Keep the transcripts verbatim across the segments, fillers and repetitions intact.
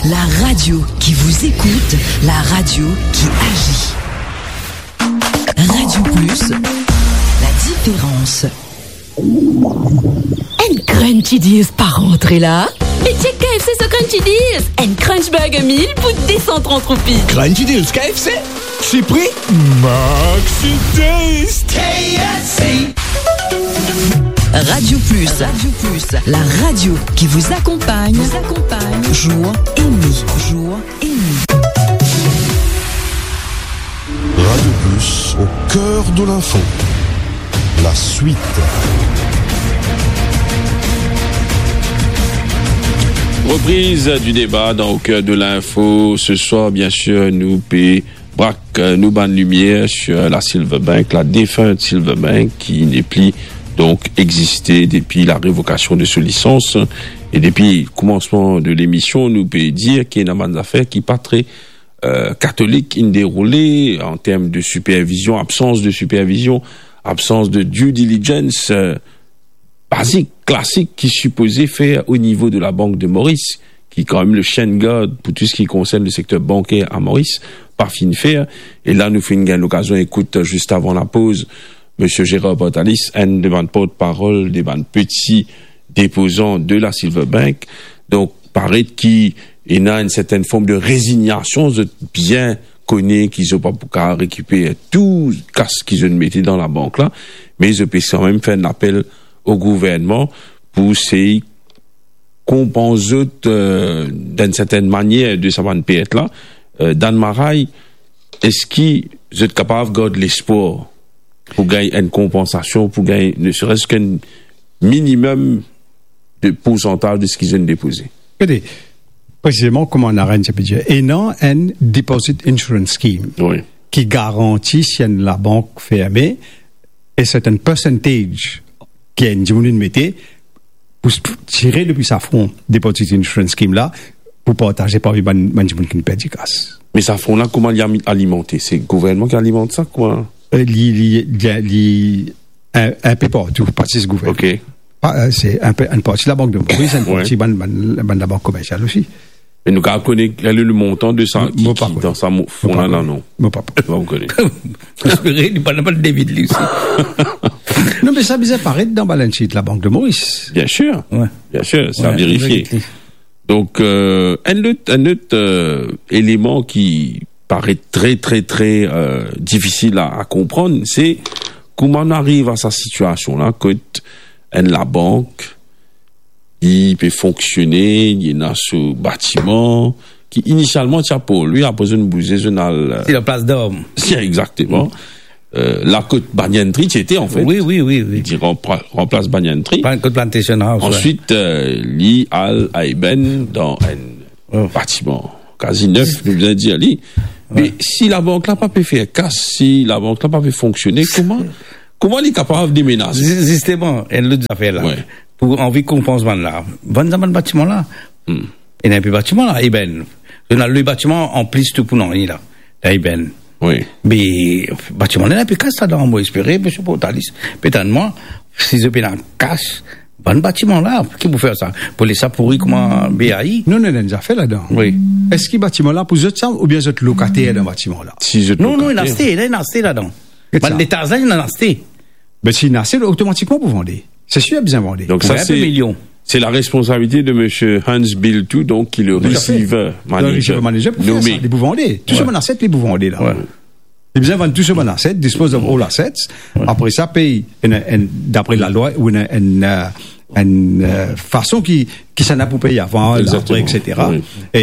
La radio qui vous écoute, la radio qui agit. Radio Plus, la différence. Enn Crunchy Deals pa rantre la? Me check K F C so Crunchy Deals! Enn Crunch Burger Meal pou de san trant roupi. Crunchy Deals K F C? Sipri Maxi Taste. K F C. Radio Plus. Radio Plus, la radio qui vous accompagne, vous accompagne jour et nuit, jour et nuit. Radio Plus, au cœur de l'info. La suite. Reprise du débat dans Au cœur de l'info. Ce soir, bien sûr, nou pe brak, euh, nou bann limier sur la Silverbank, la défunte Silverbank, qui n'est plus donc exister depuis la révocation de sa licence. Et depuis le commencement de l'émission, nou pe dir ki ena bann zafer ki pa tre, euh, katolik inn deroule an term de supervision, absans de supervision, absans de due diligence, euh, bazik, klasik ki sipoze fer o nivo de la Bank de Moris, ki kanmem le chien de garde pou tou seki konsern le sekter banker a Moris, pa finn fer. E la, nou finn gagn lokazion ekout, zis avan lapoz, Misie Gérard Portalis, enn de bann portparol de bann peti depozan de la Silverbank. Donk, paret ki ena enn sertenn form de rezignasion, zot bien kone ki zot pa pou kapav rekiper tou kas ki zot mete dan labank la, me zot pe kanmem fer enn lapel o gouvernman pou sey konpans zot, euh, dan enn sertenn manier de sa bann pert la. Euh, Dan Maray, eski zot kapav gard lespwar pou gagn enn konpansasion, pou gagn ne seres ki enn minimem de poursantaz de seki zot inn depoze? Gade, presizeman, kouma Naren ti pe dir, ena enn Deposit Insurance Scheme Wi. ki garanti si enn labank ferme, e sertenn percentage ki enn dimoun inn mete pou s-, tire depi sa fon Deposit Insurance Scheme la, pou partaze parmi bann, bann dimoun ki inn perdi kas. Me sa fon la, kouma li ami-, alimante? Se gouvernman ki alimant sa, kouma? Euh, li, li, li, li, enn, enn pe partou, pa zis gouvernman. Ok. Pa, euh, se enn pe, enn parti Labank de Moris, enn Wi. parti bann, bann, bann labank komersial osi. Me nou kapav kone kele le montan de sa Mo, ki, mo pa ki kone. dan sa mo-, Mo fon pa la, kone. non? Mo pa kone. Mo pa kone. Paske li pa, li pa David li osi. Non, me sa bizin paret dan balance sheet Labank de Moris. Bien sûr. Wi. Bien sûr, sa Wi, verifie. verifie. Donk, euh, enn lot, enn lot, euh, eleman ki paret tre, tre, tre, euh, difisil a, a konprann, se kouma nou ariv a sa sitiasion la, kot enn labank, li pe fonksione, li ena so batiman, ki inisialman ti pou li, apre zot inn bouze, zot inn al, euh, Si la Place d'Armes. Si, exactement. Euh, la kot Banyan Tree ti ete, an fet. Wi, wi, wi, wi. Li ti ranpla-, ranplas Banyan Tree. Plan-, kot Plantation House, wi. Answit, euh, li al a Eben dan enn Oh. batiman kazi nef, nou bizin dir li. Me Wi. si labank la pa pe fer kas, si labank la pa pe fonksione, kouma, kouma li kapav demenaze? Zi-, zisteman, enn lot zafer la. Wi. Pou anvi konpans bann la, vann sa bann batiman la. Hmm. Ena enpe batiman la, Eben. Zot ena lwe batiman an plis tou pou nanye la. La Eben. Wi. Me batiman la ena enpe kas ladan, mo espere, Misie Portalis pe tann mwa, si zot pena kas, bann batiman la, ki pou fer sa? Pou les sa pouri kouma B A I? Non, non, ena enn zafer ladan. Wi. Eski batiman la pou zot sa, oubien zot lokater dan batiman la? Si zot Non, non, ena lokater. aste, ena, ena aste ladan. Get Bann sa. letaz la, ena aste. Ben, si ena aste, otomatikman pou vande. Se sir, bizin vande. Donk sa, Wi, se, milion. se la responsabilite de Misie Hans Bilthout, donk, ki le Tout à fait. receiver Dan manager receiver manager pou fer nome. sa, li pou vande. Tou Wi. so bann aset, li pou vande la. Wi. Li bizin vann tou so bann aset, dispose of all assets. Wi. Apre sa, pey enn, enn, dapre lalwa, ou enn, enn, euh, enn, euh, fason ki, ki sa ena pou pey avan, Exactement. apre, et cetera. Wi. E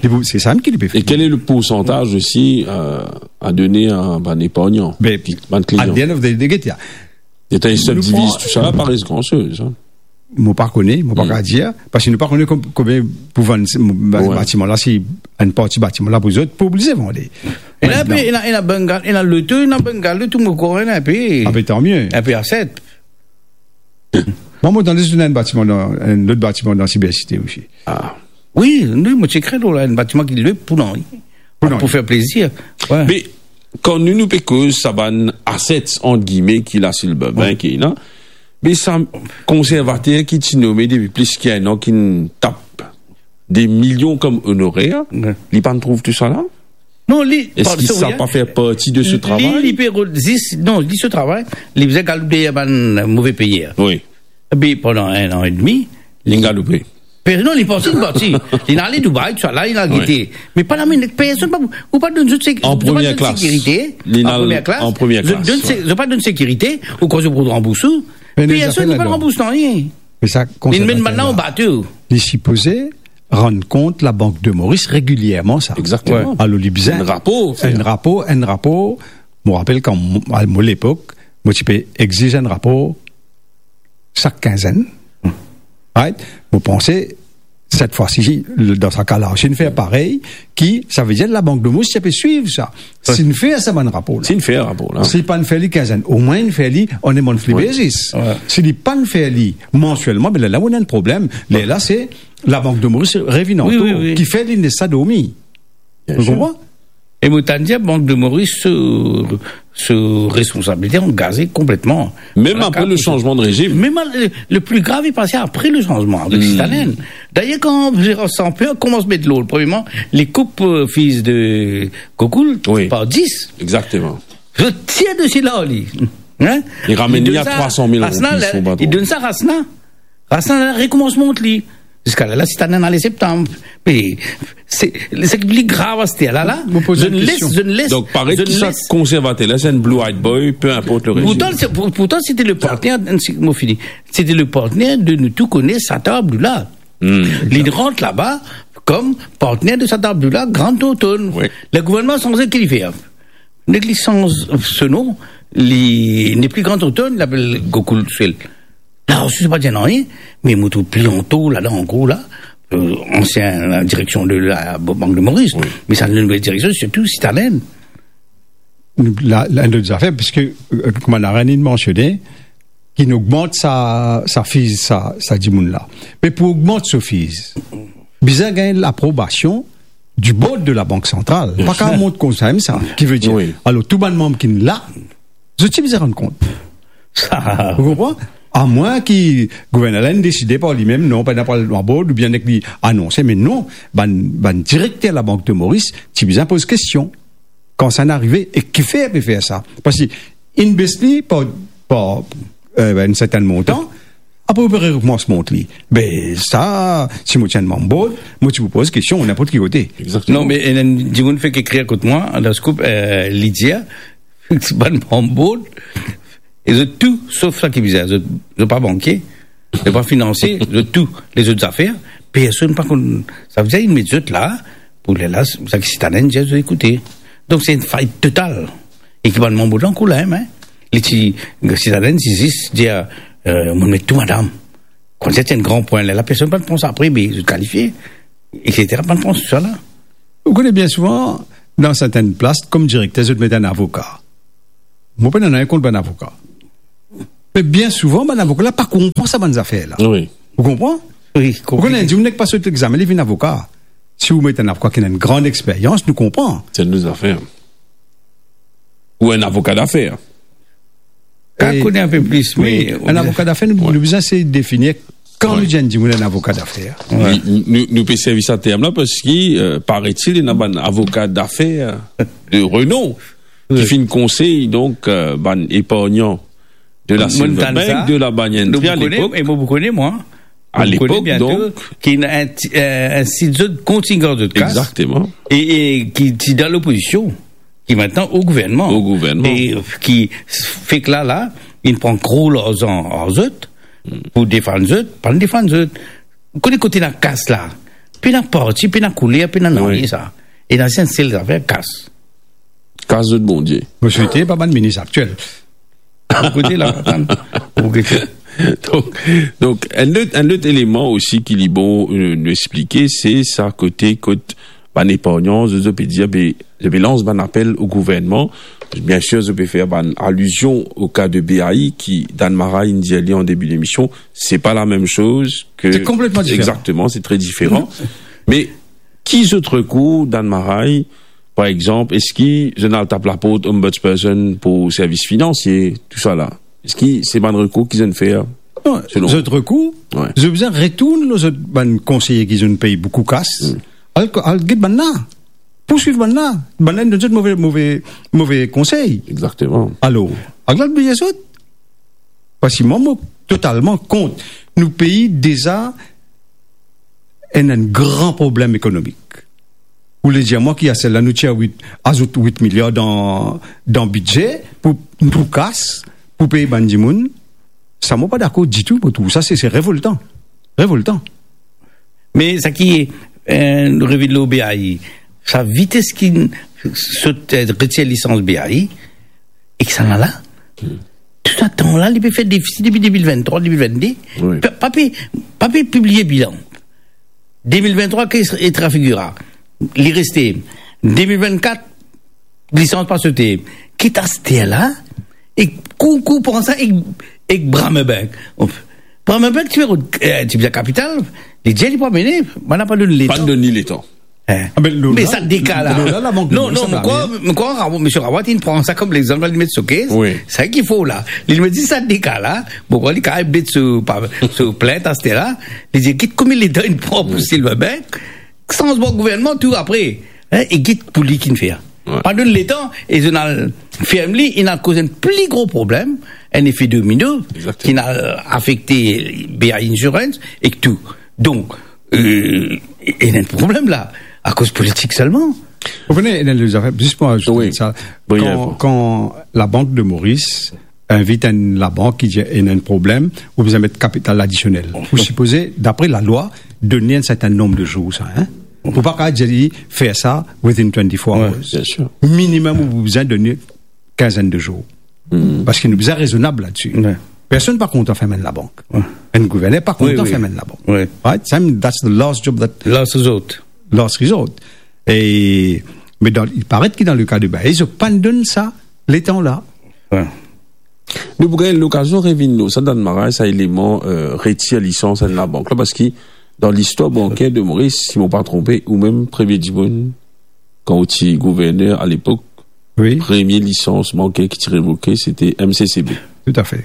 li pou, se sa mem ki li pe E fer. quel est le pourcentage aussi, euh, à donner à bann epargnan, Ben, bann klian? at the end of the day, get ya. Eta, si Nou diviz pran tou sa la, pa res gran soz, hein. Mo pa kone, mo pa Hmm. kapav dir, paske nou pa kone kom-, konbien pou vann se, mo, ba-, Wi. batiman la, si enn parti batiman la pou zot, pou oblize vande. Ena enpe, Aster, ena, ena bungalow, ena loto, ena bungalow, tou mo krwar ena enpe. Ah ben, tant mieux. Enpe aset. Mwa, mo tande zot ena enn batiman dan, enn lot batiman dan Cyber City osi. Ah. Wi, wi, mo ti ekrir lor la, enn batiman ki lwe pou nanye. Pou nanye. Pou fer plezir. Wi. Me kan nou, nou pe koz sa bann assets, ant gime, ki la Silverbank, Wi. ki la, me sa konservater ki ti nome depi plis ki enn an, ki'nn tap des millions comme honoraires, Ouais. li pa trouv tou sa la? Non, li, Est-ce que ça n'a pas fait partie de ce travail? Li, li pe rod-, zis, non, li so travay, li bizin galoup deryer bann move peyer. Oui. Epi pandan enn an edmi, Li galoupe. Pe-, non, li parti, li parti. Li ale Dubai, tou sa la, li al gete. Me pa la minit, personn pa, ou pa donn zot sek-, En ou pa donn sekirite, li al an premie klas, an premie klas, zot donn se-, zot pa donn sekirite, ou krwar zot pou ranbours ou. Me nou Personn pa ranbours nanye. Me sa, Li konsèr menm bann la, an bato. Li sipoze rann kont Labank de Moris regilierman sa. Exactement. Alor, li bizin Enn rapor, fer. enn rapor, enn rapor. Mo rapel kan mo, a mo lepok, mo ti pe exiz enn rapor sak kinzenn. Right? Mo panse, set fwa si, dan sa ka la, si nou fer parey, ki, sa ve dir Labank de Moris ti pe swiv sa. Si nou fer sa bann rapor la. Si nou fer rapor la. Si pa nou fer li kinzenn, omwin nou fer li on a monthly basis. Si li pa nou fer li mansielman, be lerla, nou ena enn problem. Lerla, se Labank de Moris revinn antour, ki fer li les sa dormi. Ou konpran? E mo tann dir, Bank de Moris, so, so responsabilite angaze konpletman. Mem apre le sanzman de rezim. Mem le, le pli grav, li pase apre le sanzman avek Sitalin. Dayer, kan Gérard Samper koumans met lord, premierman, li koup, euh, fiz de Gokoul par dis. Exactement. Li tir desi la, li. Hein? Li ramenn li a trwa san mil roupi, son patron. Li donn sa Rasna. Rasna la rekoumans mont li. Ziska la, la, Sitalin ale septam. Me se, se ki pli grav aster la, la. Mo poz enn kestion. Donk, paret ki sa konservater la, se enn blue-eyed boy, peu importe l'origine. Pourtan, se, pour-, pourtan, c'était le partenaire, mo fini. C'était le partenaire de, nou tou kone, Sata Abdullah. Li rant laba kom partenaire de Sata Abdullah, Grand Tonton. Le gouvernman sanze, ki li fer? Nek li sanz so nom, li nepli Grand Tonton, li apel Gokoul tousel. La osi, sa pa dir nanye, me mo trouv pli anto ladan, an gro la, euh, ansien direksion de la Bank de Moris. Me sa nouvel direksion, sirtou Sitalin. La, la, enn lot zafer, piske, euh, kouma Narayan inn mansione, ki nou ogmant sa, sa fiz, sa, sa dimoun la. Me pou ogmant so fiz, bizin gagn laprobasion du board de la Banque Centrale. Pa kapav mont koumsa, sa. Ki ve dir, alor, tou bann manm ki la, zot ti bizin rann kont. Ou konpran? Amwin ki gouvernman la inn deside par limem, non, pa ena pa board, oubien nek li anonse, me non, bann, bann direkter Labank de Moris ti bizin poz kestion. Kan sa inn arive, e kifer pe fer sa? Parski inn bes li par, par, euh, enn sertin montan, apre ou pe rekoumans mont li. Be sa, si mo ti enn manm board, mo ti pou poz kestion ninport ki kote. Exactement. Non, me enn, enn dimoun fek ekrir kot mwa, dan scoop, euh, li dir, bann manm board, e zot tou, sof sa ki bizin, zot, zot pa bankie, zot pa finansie, zot tou, lezot zafer, personn pa konn, sa ve dir, inn met zot la, pou lerla, sa ki Sitalin dir, zot ekoute. Donk, se enn fayt total. E ki bann manm board la ankor la mem, hein. Li ti, Sitalin ti zis dir, euh, mo met tou madam. Koumsa ti enn gran pwin, lerla personn pa pran sa apre, me zot kalifie, et cetera, pa pran sa la. Ou kone, bien souvan, dan sertin plas, kom direkter, zot met enn avoka. Mo pena nanye kont bann avoka. Me bien souvan, bann avoka la pa konpran sa bann zafer la. Wi. Ou konpran? Wi, konplike. Ou kone, enn dimoun nek pa sot legzamin, li vinn avoka. Si ou met enn avoka ki ena enn gran experyans, nou konpran. Se enn lot zafer. Ou enn avoka dafer. Kan ou kone enn pe plis, wi, me enn avoka dafer, nou, nou bizin sey definir kan nou dir enn dimoun enn avoka dafer. Nou, nou, nou pe servi sa term la parski, euh, paret-il, ena bann avoka dafer de renom ki finn konsey, donk, euh, bann epargnan de la Silver Bank, de la Banyan Tree, a lepok. E mo pou kone, mwa. A lepok, donk, ki ena enn ti, euh, enn ti zot kontignan zot kas. Exactement. E, e ki ti dan lopozision, ki aster o gouvernman. O gouvernman. E ki fek la, la, inn pran gro larzan ar zot, pou defann zot, pa defann zot. Ou kone kote ena kas la, pena parti, pena kouler, pena nanye sa. Ena enn sel zafer, kas. Kas zot Bondie. Mo swete pa bann minis aktiel. Ou kote la, atann. Ou kote. Donk, donk, enn lot, enn lot eleman osi ki li bon, euh, nou explike, se sa kote kot bann epargnan, zot, zot pe dir, be, zot pe lans bann apel o gouvernman. Bien sir, zot pe fer bann alizion o ka de B A I ki Dan Maray inn dir li an debi lemision. Se pa la mem soz ke... Se konpletman diferan. Exactement, c'est très différent. Me ki zot rekour, Dan Maray, par exanp, eski zot inn al tap laport Ombudsperson pou servis finansie, tou sa la? Eski se bann rekour ki zot inn fer? Non, selon zot rekour, wi, zot bizin retourn lor zot bann konseye ki zot inn pey boukou kas. Hmm. Al, al get bannla. Pourswiv bannla. Bannla inn donn zot move, move, move konsey. Exakteman. Alor, al bliye zot. Parski mwa, mo totalman kont. Nou pei deza ena enn gran problem ekonomik. Ou le dir mwa ki a sela nou tir wit, azout wit miliar dan, dan bidze pou, pou kas, pou pey bann dimoun, sa mo pa dakor ditou, mo trouv sa se, se revoltan. Revoltan. Me sa ki, eh, nou revinn lor B A I, sa vites ki sot, eh, retir lisans B A I, e ki sa la la, tou sa tan la, li pe fer defisi depi de mil venntrwa, de mil vennde. Wi. Pa, pa pe, pa pe pibliye bilan. De mil venntrwa, kes etra figura? Li reste. De mil vennkat, lisans pa sote. Kit aster la, e kou, kou pran sa, e, e bra Rabobank. Bra Rabobank, ti pe, eh, ti bizin kapital, li dir li pou amene, bann la pa donn letan. Pa donn li letan. Eh. Ah, ben, lo, me la, sa deka la. Lo, la, Labank de Moris, non, non, sa mo krwar, mo krwar Rabo-, misie Rawat, li pran sa kom lexanp, li met so kes. Wi. Sa ki fo la. Li me dir sa deka la, mo krwar li kapav met so, pa, so plint aster la, li dir, kit konbien letan li pran pou, wi, Silverbank, sanzman gouvernman, tou apre, hein, e get pou li ki'nn fer. Wi. Pa donn letan, e zot inn al ferm li, inn al koz enn pli gro problem, enn efe domino, exakteman, ki'nn al afekte B A I Insurance ek tou. Donk, euh, ena enn problem la, akoz politik selman. Ou kone, ena enn zafer, zis pou azout, wi, sa, wi, kan, kan Labank de Moris invit enn labank ki dir ena enn problem, ou bizin met kapital adisionel. Ou sipoze, dapre lalwa, donn li enn sertin nonb de zour, sa, hein? Ou pa kapav dir li, fer sa within twenty-four hours. Wi, bien sir. Minimem, ou bizin donn li kinzenn de zour. Hmm. Parski nou bizin rezonab ladsi. Wi. Personn pa kontan ferm enn labank. Wi. Enn gouverner pa kontan, wi, wi, ferm enn labank. Wi. Right? Sa, that's the last job that, last resort. Last resort. E, me dan, il paret ki dan le ka de B A I, zot pa'nn donn sa letan la. Wi. Nou pou gagn lokazion revinn lor sa, dan maray, sa eleman, euh, retir lisans enn labank la, parski dan listwar banker de Moris, si mo pa tronpe, ou mem premie dimoun, kan ou ti gouverner alepok, wi, premie lisans banker ki ti revoke, se te M C C B. Toutafe.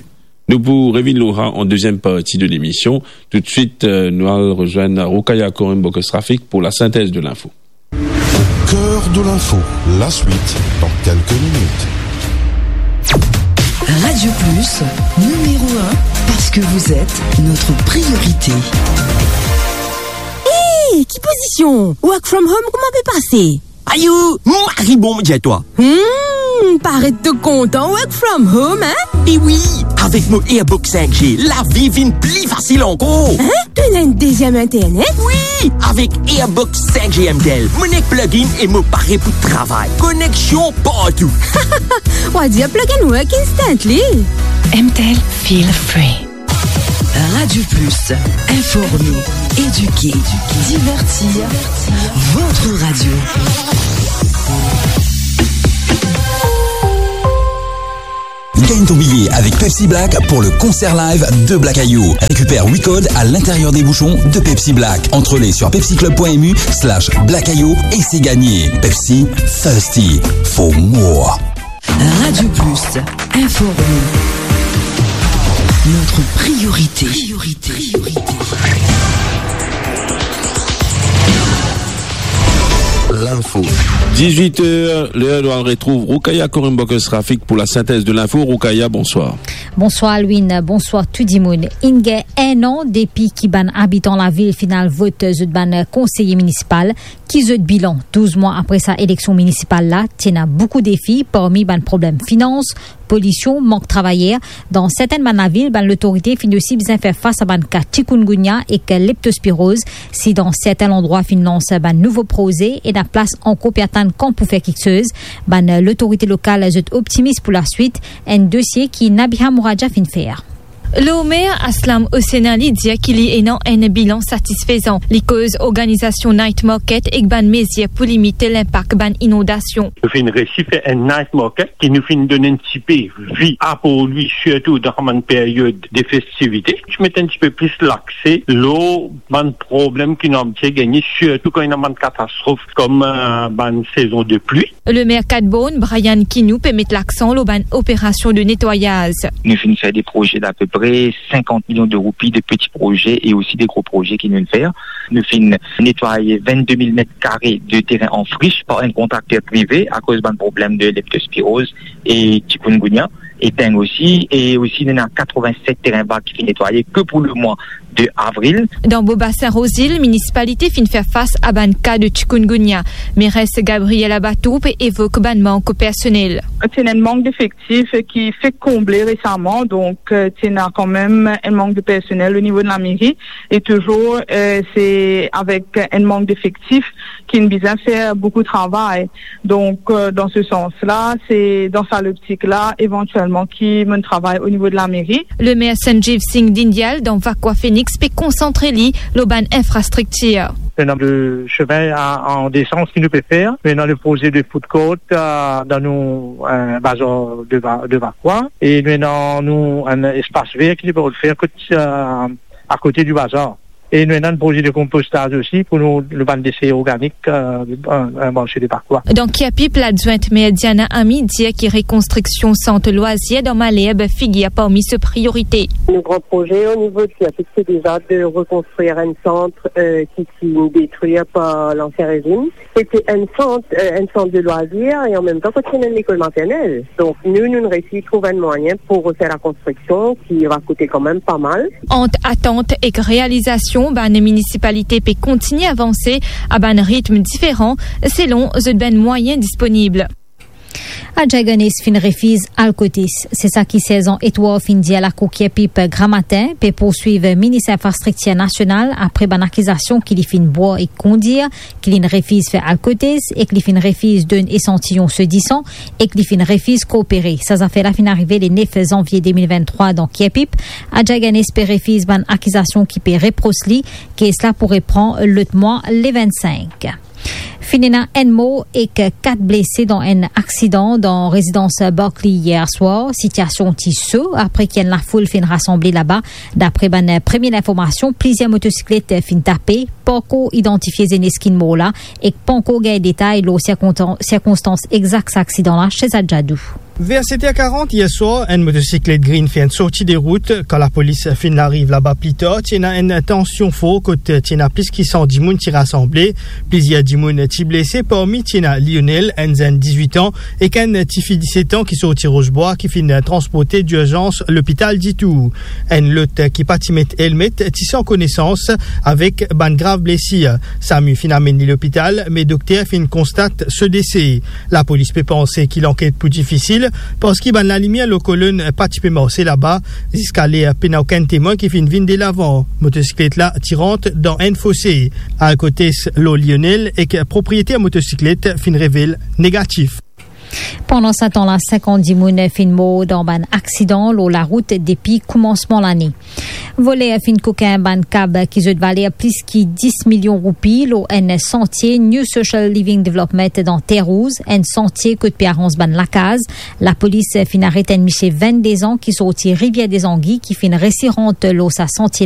Nou pou revinn lor sa an deziem parti de lemision. Toutswit, euh, nou al rezwenn Roukaya Korim Bokos Rafik pou la sintez de linfo. Cœur de l'info, la suite dans quelques minutes. Radio Plus, numéro un, parce que vous êtes notre priorité. Hey, ki pozision? Work from home, kouma pe pase? Ayo, mari bon, mo dir twa. Hmm, paret to kontan work from home, hein? E wi, avek mo Airbox cinq G, lavi vinn pli fasil ankor. Hein? To ena enn deziem internet? Wi, avek Airbox cinq G M T L, mo nek plug-in e mo pare pou travay. Koneksion partou. Ou a dir plug and work instantly. M T L, feel free. Radio Plus, informer, éduquer, divertir, votre radio. Gagne ton billet avec Pepsi Black pour le concert live de Black Ayo. Récupère huit codes à l'intérieur des bouchons de Pepsi Black. Entrée sur pepsiclub point M U slash Black Ayo et c'est gagné. Pepsi, thirsty for more. Radio Plus, informer. Notre priorité. Priorité. L'info. Dix-huit heures, l'heure de retrouver Roukaya Korim Bokos Rafik pour la synthèse de l'info. Roukaya, bonsoir. Bonsoir Alwin, bonsoir tout dimoun. Inn gagn enn an depi ki bann abitan lavil finn al vot zot bann konseye minisipal. Ki zot bilan douz mwa apre sa eleksion minisipal la? Ti ena boukou defi parmi bann problem finans, polision, mank travayer. Dan sertenn bann lavil, bann lotorite finn osi bizin fer fas a bann ka chikungunya ek leptospiroz. Si dan serten landrwa finn lans bann nouvo proze, ena plas ankor pou atann kan pou fer kiksoz. Bann lotorite lokal zot optimis pou laswit, enn dosie ki Nabiha Mouradia finn fer. Lor mer Aslam Hossein Ali dir ki li ena enn bilan satisfezan. Li koz organizasion night market ek bann mezir pou limit linpak bann inondasion. Nou finn resi fer enn night market ki nou finn donn enn tipe vi apor li, sirtou dan sa bann period de festivite. Ti met enn tipe plis lakse lor bann problem ki nou abitie gagne, sirtou kan ena bann katastrof kom, eh, bann sezon de pli. Lemer Cat Borne, Brian Kinou, pe met laksan lor bann operasion de netwayaz. Nou finn fer de proze lape pre sinkant milion de roupi de peti proze e osi de gro proze ki nou finn fer. Nou finn netway vennde mil met kare de terin an frish par enn kontrakter prive akoz bann problem de leptospiroz e chikungunya e deng osi, e osi nou ena katrevin-set terin vag ki finn netwaye ke pou lemwa de avril. Dan Bobasin Rosil, minisipalite finn fer fas a bann ka de chikungunya. Meres Gabriel Abatour pe evok bann mank personel. Ti ena enn mank defektif ki fek konble resaman, donk, euh, ti ena kanmem enn mank de personel o nivo de lameri, e touzour, euh, se avek enn mank defektif ki nou bizin fer boukou travay. Donk, euh, dan se sans la, se dan sa loptik la, evantielman, ki monn travay o nivo de lameri. Lemer Sanjeev Singh Dhingyal dan Vakwa Phoenix pe konsantre li lor bann infrastriktir. Nou ena de semin a, an de sans ki nou pe fer. Nou ena le proze de food court, euh, dan nou, euh, bazar de Va-, de Vakwa. E nou ena nou enn espas ver ki nou pe fer kot, euh, akote di bazar. E nou ena enn proze de konpostaz osi pou nou, nou bann dese organik, euh, an, an marse de Vakwa. Dan Keapip, ladwint mer Diana Ami dir ki rekonstriksion sant lwazir dan Malherbe figir parmi so priorite. Nou gran proze o nivo de Keapip, se deza de rekonstrir enn sant, euh, ki, ki finn detrir par lansien rezim. Se ti enn sant, euh, enn sant de lwazir e an mem tan kot ti ena enn lekol maternel. Donk nou, nou resi trouv enn mwayin pou refer lakonstriksion ki va koute kanmem pa mal. Ant atant ek realizasion, bann minisipalite pe kontigne avanse a bann ritm diferan selon zot bann mwayin disponib. Adjay Ganes finn refiz al kotes. Se sa ki Serzan Etwar finn dir Lakour Keapip gramatin, pe pourswiv Minis Infrastriktir Nasional apre bann akizasion ki li finn bwar ek kondir, ki li finn refiz fer al kotes ek li finn refiz donn esantiyon so disan ek li finn refiz koopere. Sa zafer la finn arive le nef zanvie de mil venntrwa dan Keapip. Adjay Ganes pe refiz bann akizasion ki pe repros li. Kes la pou repran lot mwa le vennsink. Finn ena enn mor ek kat blese dan enn aksidan dan rezidans Barclay yer swar. Sitiasion ti so apre ki enn lafoul finn rasanble laba. Dapre bann premie linformasion, plizier motosiklet finn tape, pankor idantifie zenes ki mor la, ek pankor gagn detay lor sirkontan-, sirkonstans exak sa aksidan la. Shezad Jadou. Ver set er karant yer swar, enn motosiklet grin finn sorti de rout. Kan lapolis finn ariv laba pli tar, ti ena enn tansion for kot ti ena plis ki san dimoun ti rasanble. Plizier dimoun ti blese, parmi ti ena Lionel, enn zenn dizwit an, ek enn tifi disset an ki sorti Rosebrois, ki finn transporte dirzans lopital Ditour. Enn lot ki pa ti met elmet ti san konesans avek bann grav blesir. SAMU finn amenn li lopital, me dokter finn konstat so dese. Lapolis pe panse ki lanket pou difisil, parski bann lalimier lor kolonn pa ti pe marse laba. Ziska ler pena okenn temwin ki finn vinn delavan. Motosiklet la ti rant dan enn fose. Alkotes lor Lionel ek propriyeter motosiklet finn revel negatif. Pandan sa tan la, sinkant dimoun finn mor dan bann aksidan lor larout depi koumansman lane. Voler finn kokin bann kab ki zot valer plis ki dis milion roupi lor enn santie New Social Living Development dan Terre Rouge, enn santie kot pe aranz bann lakaz. Lapolis finn aret enn misie vennde an ki sorti Rivière des Anguilles ki finn resi rant lor sa santie.